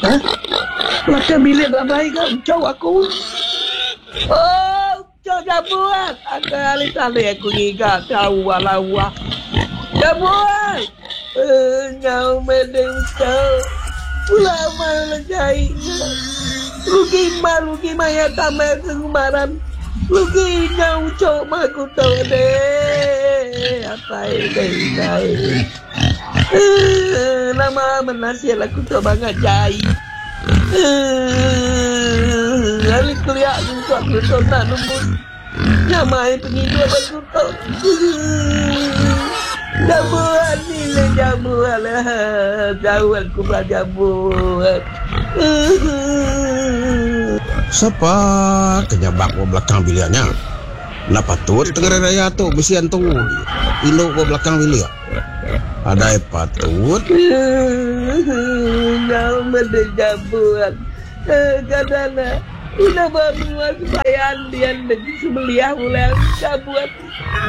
Hah? Belakang bilik nadai ga ucau aku. Oh, ucau jabut. Aku hari tadi aku ngiga tau lawa. Jabut. Eh, nyau meh deh ucau. Pula mai lejai nya. Rugi ma rugi maya tambah ke ngumaran. Rugi nyau ucau mah aku tu deh. Apai deh indai. Eh, nama menasil aku tu bangat jai. Eh, ari kelia nyentuk aku tu enda nemu nyamai pengidup aku tu. Eh, jabuan ni le jabuan eh, jauh aku ba jabuan. Eh. Sapa ke nyabak ba belakang bilik nya? Enda patut tengah hari raya tu bisi antu indu ba belakang bilik. Adai patut. Nyau meda jabut. Kada ne udah ba menua sebayan dian degi sebeliah ulang jabut.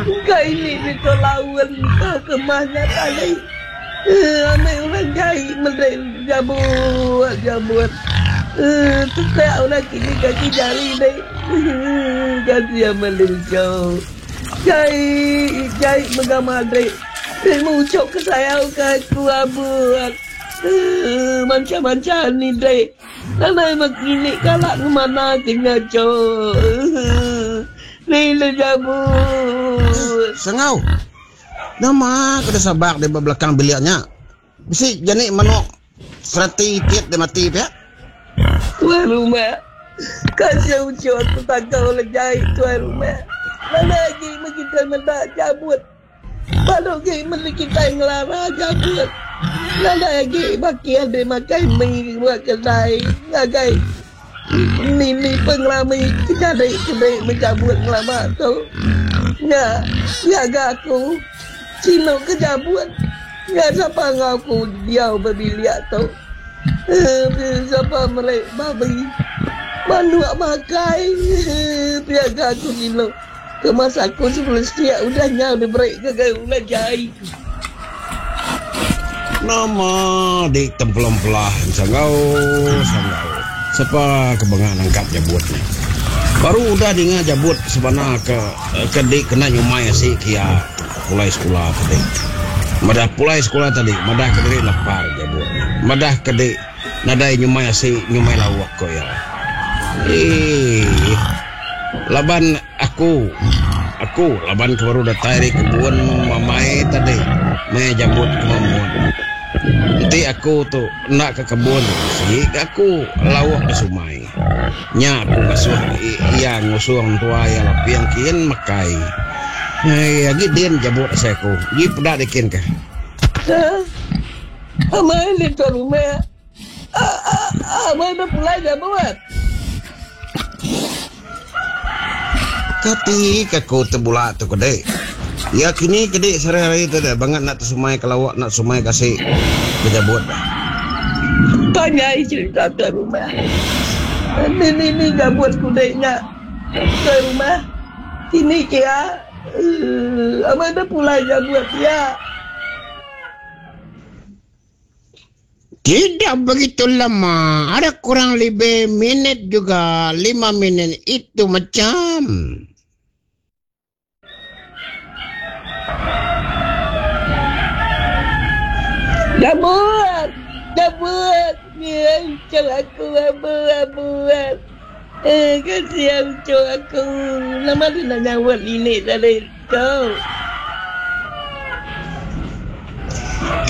Engka ini deka laun ka kemah nya tadi. Amai orang jai meda jabut jabut. Tetak udah kini kaki jari deh. Kasih amat lucu. Jai jai mega madik. Terima ucap ke sayau ke aku abu. Manca manca ni dek. Nadai meki kala ngemana ke nya cok. Ni le jabut. Sengau. Nama ke sabak di ba belakang bilik nya. Bisi jani manok sereti itit deh mati pia. Tuai rumah. Kasih uchu aku takau lejai tuai rumah. Nadai agi meh kitai meda jabut. Baru agi meh kitai ngelara jabut. Nadai agi baki adi makai mi ba kedai ngagai ni-ni pengerami ke nyadi kedi meh jabut ngelama tu. Nya gaga aku sinu ke jabut. Nya sapa enggau aku diau ba bilik tu. Sapa meri babi manuk makai pia ga aku ngilu ke masa aku sebelum siak udah nyau diberi ngagai ulah jai. Nama di tempelong pelah sanggau sanggau sapa ke benga nangkap jabut nya. Baru udah dinga jabut sebana ke ke di kena nyumai asi kia. Pulai sekula tadi. Madah pulai sekula tadi, madah ke diri lapar jabut. Madah ke di nadai nyumai asi, nyumai lauk ko iya. Eii. Laban aku, aku laban ke baru datai ari kebun mamai tadi meh jabut ke mamut. Enti aku tu enda ke kebun bisi ga aku lauk di sumai. Nya aku ngasuh iya ngusung entua iya laping kin makai. Ai agi din jabut asai aku. Agi peda dikin ka. Amai lita rumah. Amai dah pulai jabut. Kati ka ku tebula tu kedi. Iya kini kedi sehari-hari tu deh bangat nak tesumai ke lauk nak sumai ke asi ke jabut deh. Panjai cerita tuai rumah. Ni ni ni jabut kudi nya tuai rumah. Kini kia amai deh pulai jabut pia. Tidak begitu lama, ada kurang lebih minit juga, lima minit itu macam. Dah buat, dah buat ni ucap aku buat buat. Eh kasihan ucap aku. Nama dia nak nyawat lilik tadi tu.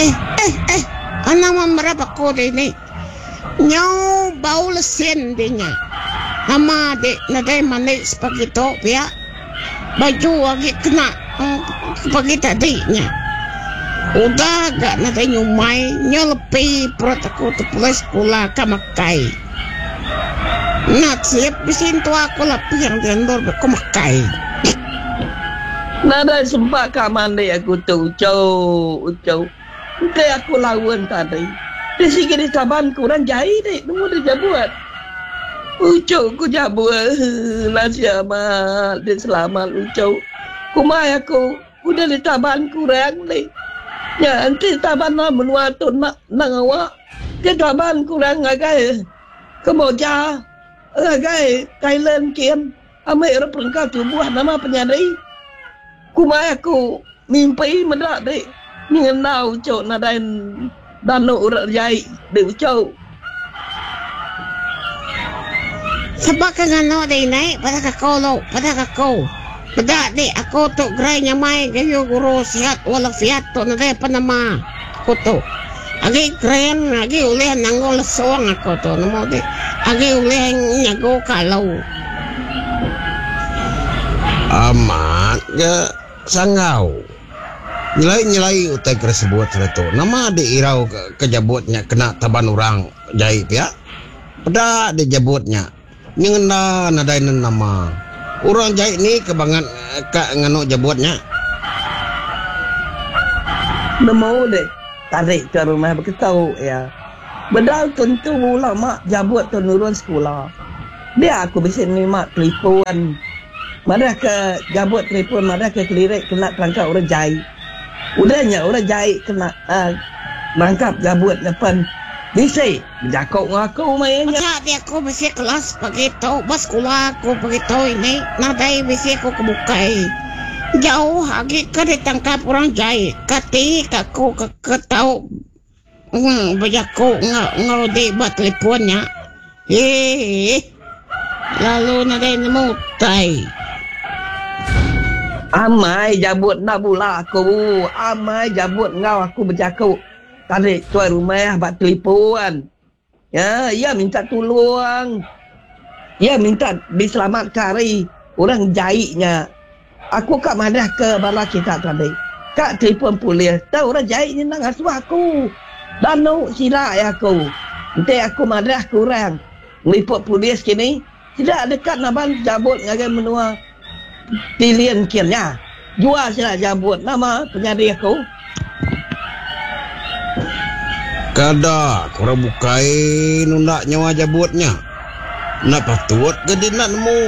Eh eh eh anang memerap aku dini. Nyau bau lesin di nya. Nama di nadai mandi sepagi tu pia. Baju agi kena pagi tadi nya. Udah ga nadai nyumai nyau lepi perut aku tepulai sekula ka makai. Nasib bisi entua aku laping di endur ku makai. Nadai sempat ka mandi aku tu uchu uchu. Enti aku laun tadi, ti sigi ditaban ku orang jai ti nemu deh jabut. Uchu ku jabut nasi amat ti selamat uchu. Kumbai aku udah ditaban ku orang ti. Nya enti taban ba menua tu enda enda ngawa. Ke kaban ku orang ngagai Kemboja, ngagai Thailand kin ambi orang perengka tubuh nama penyadi. Kumbai aku mimpi meda dek nyengendau uchu nadai danu orang jai dek uchu. Seba ke nganu dek indai padah ke aku lu, padah ke aku. Peda dek aku tu gerai nyamai gayu guru sihat walafiat tu nadai apan nama aku tu. Agi kering agi ulih nanggung lesung aku tu nemu dek agi ulih nyagu ka alu. Amat ga sanggau. Nyelai-nyelai utai ke disebut sida tu. Nama dek irau ke jabut nya kena taban orang jai pia? Peda dek jabut nya nyengenda nadai nen nama. Orang jai ni ke bangat ka nganu jabut nya. Nemu dek tarik ke rumah beketu iya. Bedau tentu lama jabut tu nurun sekula. Dia aku bisi nerima telipon. Madah ke jabut telipon madah ke kelirik kena terangkap orang jai. Udah nya orang jai kena merangkap jabut nya pen bisi bejaku enggau aku maya nya. Meda ti aku bisi kelas pagi tu ba sekula aku pagi tu ini nadai bisi aku ke bukai. Jauh agi ke ditangkap orang jai kati ka aku ke tau Bejaku enggau di ba telefon nya. Eeh. Lalu nadai nemu utai. Amai jabut enda bula aku. Amai jabut enggau aku bejaku tadi tuai rumah ba telefon. Ya, iya minta tulung. Iya minta diselamatka ari orang jai nya. Aku ka madahka bala kita tadi, ka telefon polis tang orang jai nya enda ngasuh aku. Danu sida iya aku. Enti aku madahka orang ngeliput polis kini, sida deka naban jabut ngagai menua Tilin kin nya. Jual sida jabut nama penyadi aku. Kada ke orang bukai nunda nyawa jabut nya. Enda patut ga di enda nemu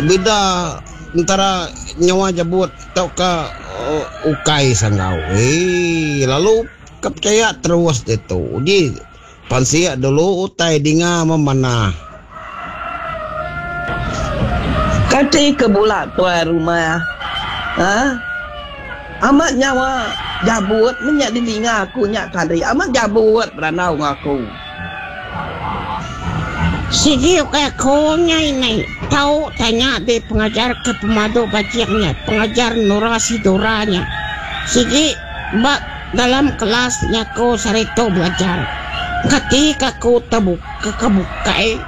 bida entara nyawa jabut tauka ukai sanggau. Eii lalu ka pechaya terus ditu. Uji pansik dulu utai dinga memanah. Kati ke bula tuai rumah ha amat nyawa jabut meh nya didinga aku nya tadi amat jabut berandau enggau aku. Sigi ukai aku nya ini tau tanya di pengajar ke pemadu bajik nya pengajar Nura Sidura nya sigi ba dalam kelas nya aku sehari tu belajar kati ka aku tebuka. Ke ke bukai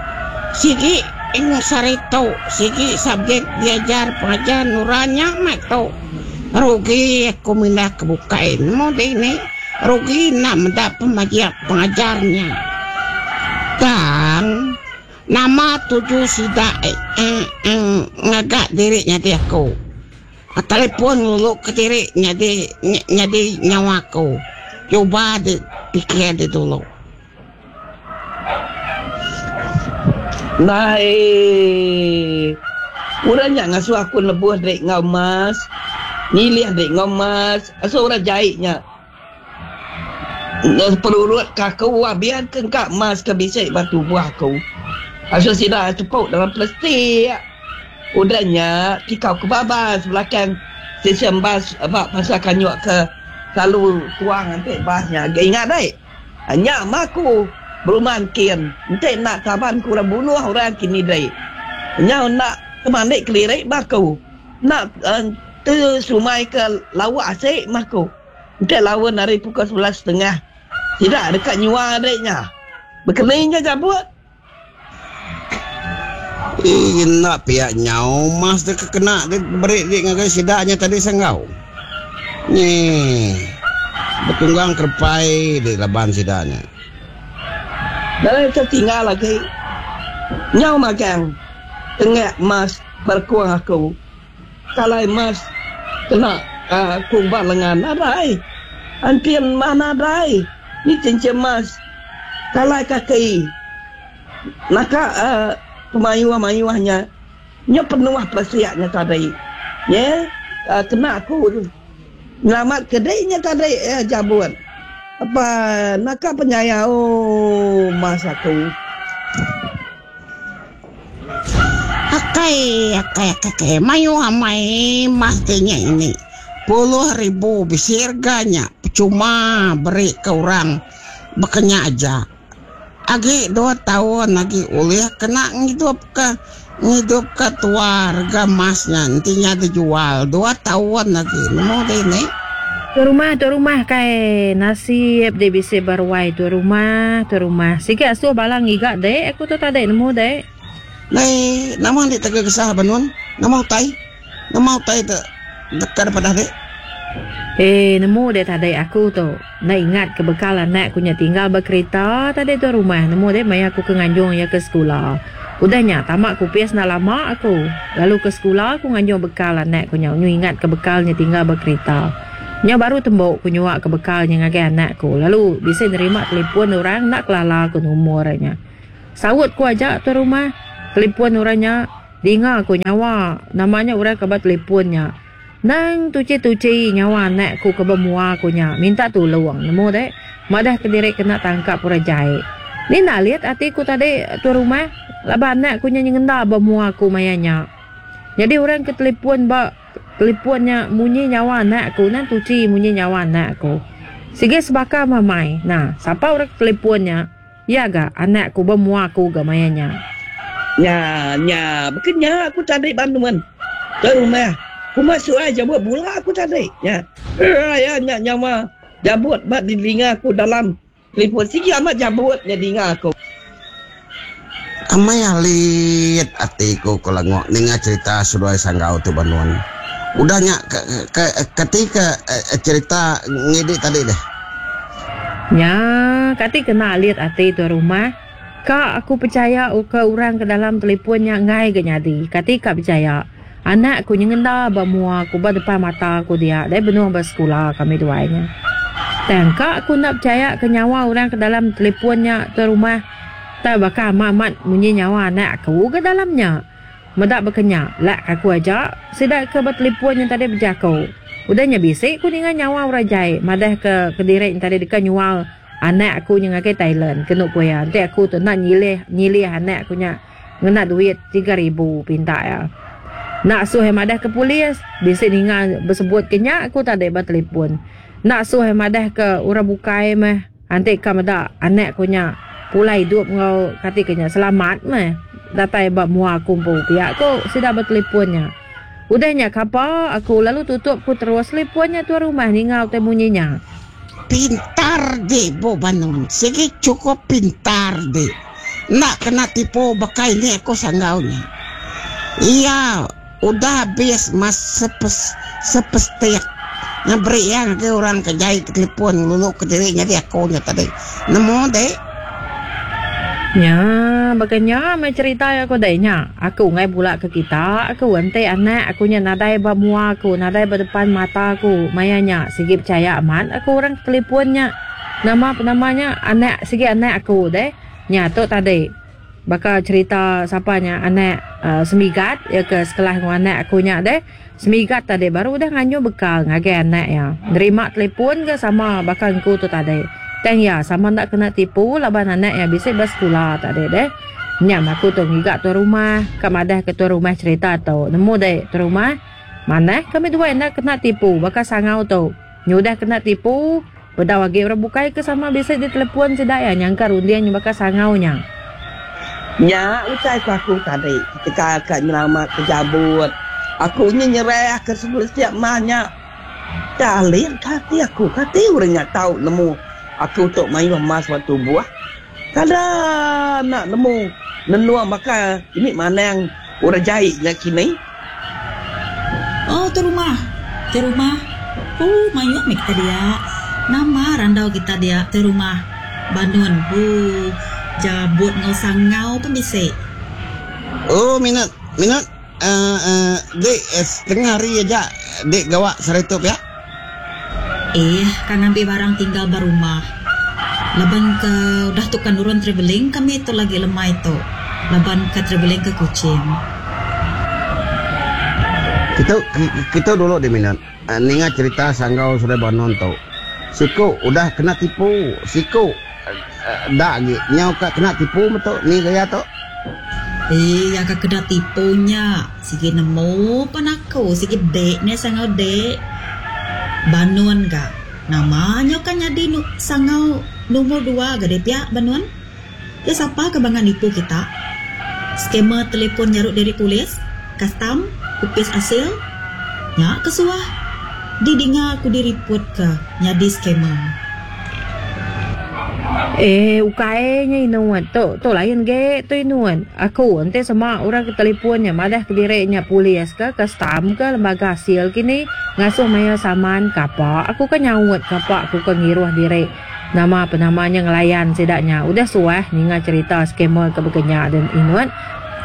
sigi eng sehari tu sigi subjek diajar pengajar nura nya meh tu. Rugi aku mindah ke bukai nemu dini rugi enda meda pemajik pengajar nya. Tang nama tuju sida eng ngaga diri nyadi aku. Telefon ngulu kediri nyadi nyadi nyawa aku. Cuba dipikir dulu. Ndai. Orang nya ngasuh aku nebuh diri enggau emas, nyilih diri enggau emas, asuh orang jai nya perurut ke aku biar ke engka emas ke bisi ba tubuh aku. Asuh sida tepuk dalam plastik. Udah nya tikau ke babas belakang stesen bas ba pasar Kanyuk ke selalu tuang enti bas nya. Ingat dei. Nya mah aku beruman kin enti enda kaban ku orang bunuh orang kini dei. Nyau enda temandi keliri mah aku. Enda te sumai ke lauk asi mah aku. Enti laun ari pukul 11 setengah sida deka nyua dei nya. Bekeni nya jabut. Ii enda pia nyau mas deka kena diberi di ngagai sida nya tadi sanggau. Nyi betunggang kerepai di laban sida nya. Nadai tetinggal agi. Nyau magang tengak mas berekung aku. Kalai mas kena aku ba lengan nadai. Antin mah nadai. Ni cincin mas. Kalai kaki naka pemayuh-mayuh nya nya penuh pesik nya tadi. Nya kena aku nyelamat ke dei nya tadi jabut. Apai naka penyayau mas aku. Akai akai akai akai mayuh amai mas ti nya ini. Puluh ribu bisi rega nya pechuma beri ke orang baka nya aja. Agi dua taun agi ulih kena ngidupka ngidupka tua rega emas nya enti nya dijual dua taun agi nemu deh ini. Tuai rumah tuai rumah kai nasib dek bisi ba ruai tuai rumah tuai rumah sigi asuh bala ngiga dek aku tu tadi nemu dek. Ndai nama enti tega gesah ba nun nama utai nama utai te deka dipadah dek. Eh nemu dek tadi aku tu enda ingat ke bekal anak ku nya tinggal ba kerita tadi tuai rumah nemu dek maya aku ke nganjung iya ke sekula. Udah nya tama ke opis enda lama aku lalu ke sekula aku nganjung bekal anak ku nya nyu ingat ke bekal nya tinggal ba kerita. Nya baru tembu ku nyua ke bekal nya ngagai anak ku lalu bisi nerima telipon orang enda kelala ku numur nya. Saut ku aja tuai rumah telipon orang nya dinga ku nyawa nama nya orang ke ba telipon nya. Nang tuchi-tuchi nyawa anak ku ke ba mua ku nya minta tulung nemu deh madah kediri kena tangkap orang jai. Ni nalit ati ku tadi tuan rumah laban anak ku nya nyengenda ba mua ku maya nya. Nyadi orang ke telipon ba telipon nya munyi nyawa anak ku nang tuchi munyi nyawa anak ku. Sigi sebaka mamai nah sapa orang ke telipon nya iya ga anak ku ba mua ku ga maya nya. Nya nya baka nya aku tadi ba nuan ke rumah kuma suai jabut bula aku tadi nya raya nya nyawa jabut ba didinga aku dalam telefon sigi amat jabut nya dinga aku. Amai alit ati ku ke lengok ninga cerita seduai sanggau tu ba nuan. Udah nya ke ke kati ke cerita ngidi tadi deh. Nya, kati kena alit ati tuai rumah. Ka aku pechaya uka orang ke dalam telipon nya enggai ga nyadi. Kati ka pechaya. Anak ku nyengenda ba mua ku ba depan mata ku dia dai benung ba sekula kami duai nya. Tang ka aku enda pechaya ke nyawa orang ke dalam telipon nya tuai rumah. Tai baka amat amat munyi nyawa anak aku ga dalam nya. Meda baka nya, lak aku aja sida ke betelipun nya tadi bejaku. Udah nya bisi ku ninga nyawa orang jai madah ke kediri nya tadi deka nyual anak aku nya ngagai Thailand kenu ku iya. Enti aku tu enda nyilih nyilih anak aku nya ngena duit 3000 pinta iya. Enda asuh iya madah ke polis, bisi ninga besebut ke nya aku tadi ba telipun. Enda asuh iya madah ke orang bukai meh. Enti ka meda anak ku nya pulai idup enggau kati ke nya selamat meh datai ba mua aku empu pia ku sida betelipon nya. Udah nya kapa aku lalu tutup ku terus telipon nya tuan rumah ninga utai munyi nya. Pintar dik bu Banun sigi cukup pintar dik enda kena tipu baka ini aku sanggau nya. Iya Udah abis mas sepestik ngeberi iya ngagai orang ke jai ke telefon ngelulu ke diri nyadi aku nya tadi. Nemu dek. Nya baka nya meh cherita iya ko dek nya. Aku enggai bula ke kita aku enti anak aku nya nadai ba mua aku nadai ba depan mata aku maya nya sigi pechaya amat aku orang ke telefon nya. Nama penama nya anak sigi anak aku deh. Nya tu tadi. Baka cherita sapa nya anak Semigat iya ke sekelas enggau anak aku nya deh. Semigat tadi baru udah nganjung bekal ngagai anak iya. Nerima telefon ke sama baka engku tu tadi. Tang iya sama enda kena tipu laban anak iya bisi ba sekula tadi deh. Nya meh aku tu ngiga tuan rumah ka madah ke tuan rumah cherita tu. Nemu deh tuan rumah manah kami duai enda kena tipu baka sangau tu. Nyudah kena tipu. Bedau agi orang bukai ke sama bisi ditelepon sida iya nyangka runding nya baka sangau nya. Nya utai ku aku tadi ketegal ka nyelamat ke jabut aku nya nyerah ke setiap mah nya. Tak alit ka ati aku kati orang nya tau nemu aku tu mayuh emas ba tubuh. Kada enda nemu nenung baka ini manang orang jai nya kini. Oh tu rumah. Tu rumah. Ooh mayuh meh kita dia. Nama randau kita dia tu rumah. Banun ooh jabut enggau sangau pun bisi. Oh minat minat uh, uh, dik setengah hari aja dik gawa sehari tu pia. Eh ka ngambi barang tinggal ba rumah. Laban ke udah tu ka nurun travelling kami tu lagi lemai tu laban ka travelling ke Kuching. Kitu kitu dulu deh minat ninga cerita sanggau Sri Banon tu. Siku udah kena tipu, siku enda agi nyau ka kena tipu metu ni gaya tu. Iya ka kena tipu nya sigi nemu pan aku sigi dek nya sangau dek. Banun ga nama nyau ka nyadi sangau lumur dua ga deh pia Banun. Ke sapa ke bangat nipu kita? Scammer telefon nyarut diri polis, kastam, opis asil? Nya ke suah didinga ku diriput ke nyadi scammer. Eh ukai nya inut tu tu lain ge tu inut aku enti sema orang ke telefon nya madah kediri nya polis ke kastam ke lembaga asil kini ngasuh mayar saman kapa aku ke nyaut kapa aku ke ngiruh diri. Nama penama nya ngelayan sida nya udah suah ninga cherita scammer ke baka nya den inut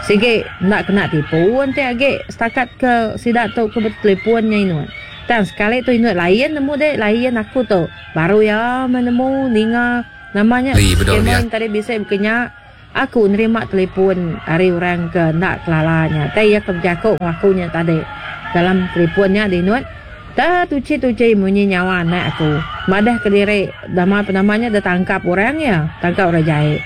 sigi enda kena tipu enti agi setakat ke sida tu ke betelefon nya inut. Tang sekali tu inut lain nemu deh lain aku tu baru iya meh nemu ninga nama nya scammer tadi bisi baka nya aku nerima telefon ari orang ke enda kelala nya tai iya ke bejaku enggau aku nya tadi dalam telefon nya dinut. Te tuchi-tuchi munyi nyawa anak aku. Madah kediri nama penama nya ditangkap orang iya, tangkap orang jai.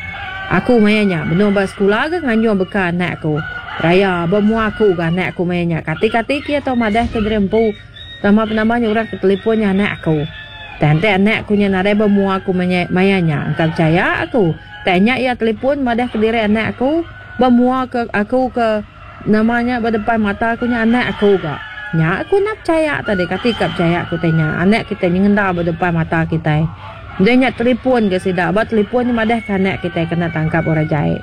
Aku maya nya benung ba sekula ga nganjung beka anak aku. Raya ba mua aku ga anak aku maya nya. Kati-kati ke iya tau madah ke diri empu nama penama nya orang ke telefon nya anak aku. Tang enti anak aku nya nadai ba mua aku maya nya engka pechaya aku. Tang nya iya telefon madah kediri anak aku ba mua ke aku ke. Nama nya ba depan mata aku nya anak aku ga. Nya aku enda pechaya tadi kati ka pechaya ku tai nya anak kitai nyengenda ba depan mata kitai. Udah nya telefon ga sida ba telefon nya madah ka anak kitai kena tangkap orang jai.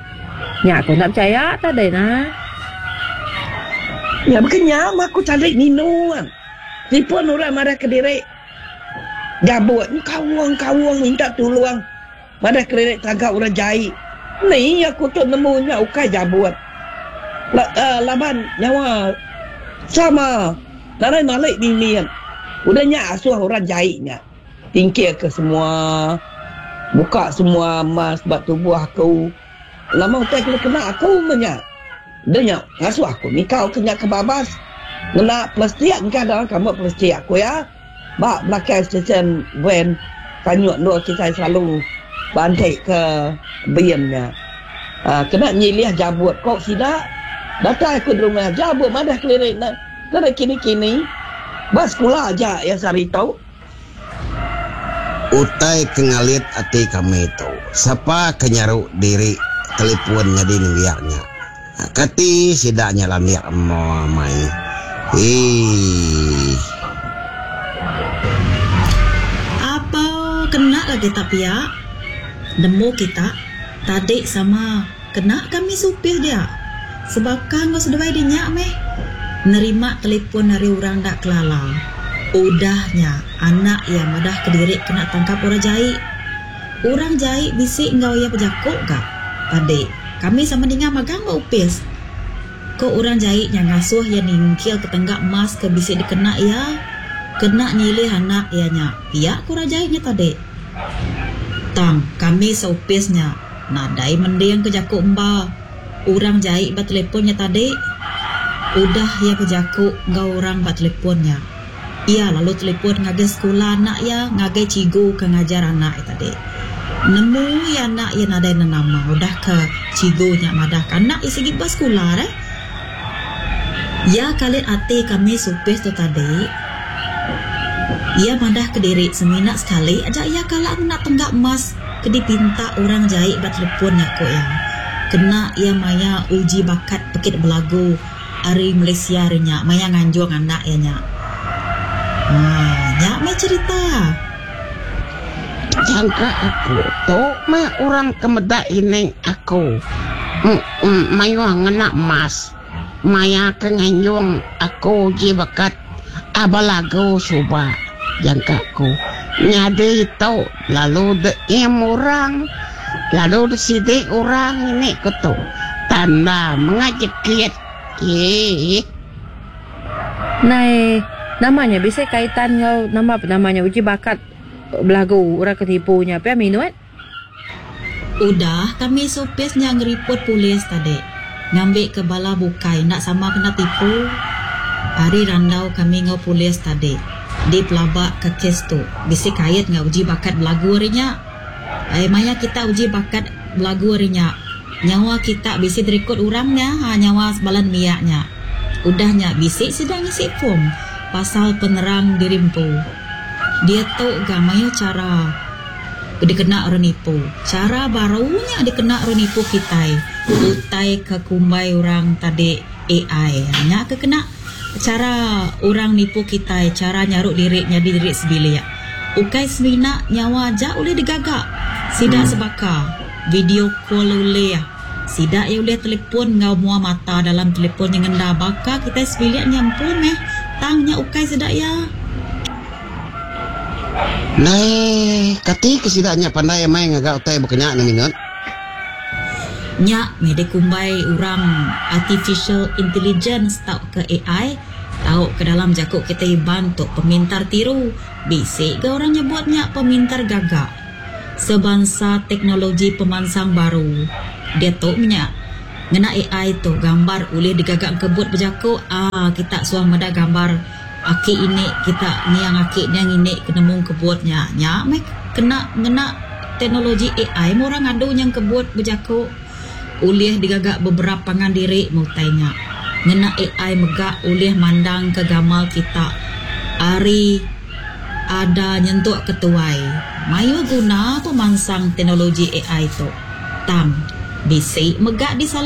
Nya aku enda pechaya tadi nah. Nya baka nya mah aku tadi nginu. Telefon orang madah kediri gabut kaung kaung minta tulung. Madah kediri taga orang jai. Ni aku tu nemu nya ukai jabut. Laban nyawa sama nadai malik mimit. Udah nya asuh orang jai nya tingkil ke semua buka semua emas ba tubuh aku. Nama utai ke dikena aku meh nya. Udah nya ngasuh aku nikau ke nya ke babas ngena plastik engka dalam kambut plastik aku iya. Ba belakang stesen van tanyuk endur kitai selalu bantik ke bin nya. Kena nyilih jabut ko sida datai aku derumah jabut madah keliri ne nadai kini-kini ba sekula aja iya sehari tu. Utai ke ngalit ati kami tu sapa ke nyaru diri telefon nyadi nembiak nya. Kati sida nya landik amai. Eii. Apa kena lagi tak pia nemu kita tadi sama kena kami supir dia sebaka enggau seduai di nya meh nerima telefon ari orang enda kelala udah nya anak iya madah kediri kena tangkap orang jai. Orang jai bisi enggau iya bejaku ga. Tadi, kami sama ninga magang ba opis. Ko orang jai nya ngasuh iya ningkil ke tengga emas ke bisi dikena iya kena nyilih anak iya nya, pia ko orang jai nya tadi. Tang, kami seopis nya nadai mending ke jaku emba orang jai ba telefon nya tadi. Udah iya bejaku enggau orang ba telefon nya. Iya lalu telefon ngagai sekula anak iya ngagai cikgu ke ngajar anak iya tadi. Nemu iya anak iya nadai nenama udah ke cikgu nya madah ke anak iya sigi ba sekula deh. Iya kalit ati kami supis tu tadi. Iya madah kediri semina sekali aja iya kala ngena tengga emas ke dipinta orang jai ba telefon nya ku iya. Kena iya maya uji bakat pekit belagu. Ari Malaysia ari nya maya nganjung anak iya nya. Haa nya meh cherita. Jangka aku tu meh orang ke meda ini aku mayuh ngena emas maya ke nganjung aku uji bekat aba lagu suba jangka aku nyadi tu lalu de im orang lalu de sidi orang ini ku tu tanda menga jekit eii. Nai nama nya bisi kaitan enggau nama penama nya uji bakat belagu orang ke nipu nya pia minut. Udah kami seopis nya ngeripot polis tadi ngambika bala bukai enda sama kena tipu. Ari randau kami enggau polis tadi. Dipelabaka kes tu bisi kait enggau uji bakat belagu ari nya. Ai maya kita uji bakat belagu ari nya, nyawa kita bisi dirikod orang nya ha nyawa bala nembiak nya. Udah nya bisi sida ngisi form pasal penerang diri empu. Diatu ga mayuh chara dikena orang nipu. Chara baru nya dikena orang nipu kitai utai ke kumbai orang tadi AI. Nya ke kena. Chara orang nipu kitai chara nyaru diri nyadi diri sebilik. Ukai semina nyawa aja ulih digaga. Sida sebaka, video call ulih. Sida iya ulih telefon enggau mua mata dalam telefon nyengenda baka kitai sebilik nya empu meh tang nya ukai sida iya. Ndai kati ke sida nya pandai amai ngaga utai baka nya ne minut. Nya meh dikumbai orang Artificial Intelligence tauka AI tauka dalam jaku kitai Iban tu pemintar tiru. Bisi ga orang nyebut nya pemintar gaga. Sebansa teknologi pemansang baru diatu meh nya. Ngena AI tu gambar ulih digaga engkebut bejaku aaa kita suah meda gambar aki ini kita niang aki niang ini ke nemu engkebut nya. Nya meh kena ngena teknologi AI meh orang ngadu nya engkebut bejaku ulih digaga beberap pangan diri meh utai nya. Ngena AI mega ulih mandangka gamal kita ari ada nyentuk ke tuai. Mayuh guna pemansang teknologi AI tu. Tang, bisi mega disalah.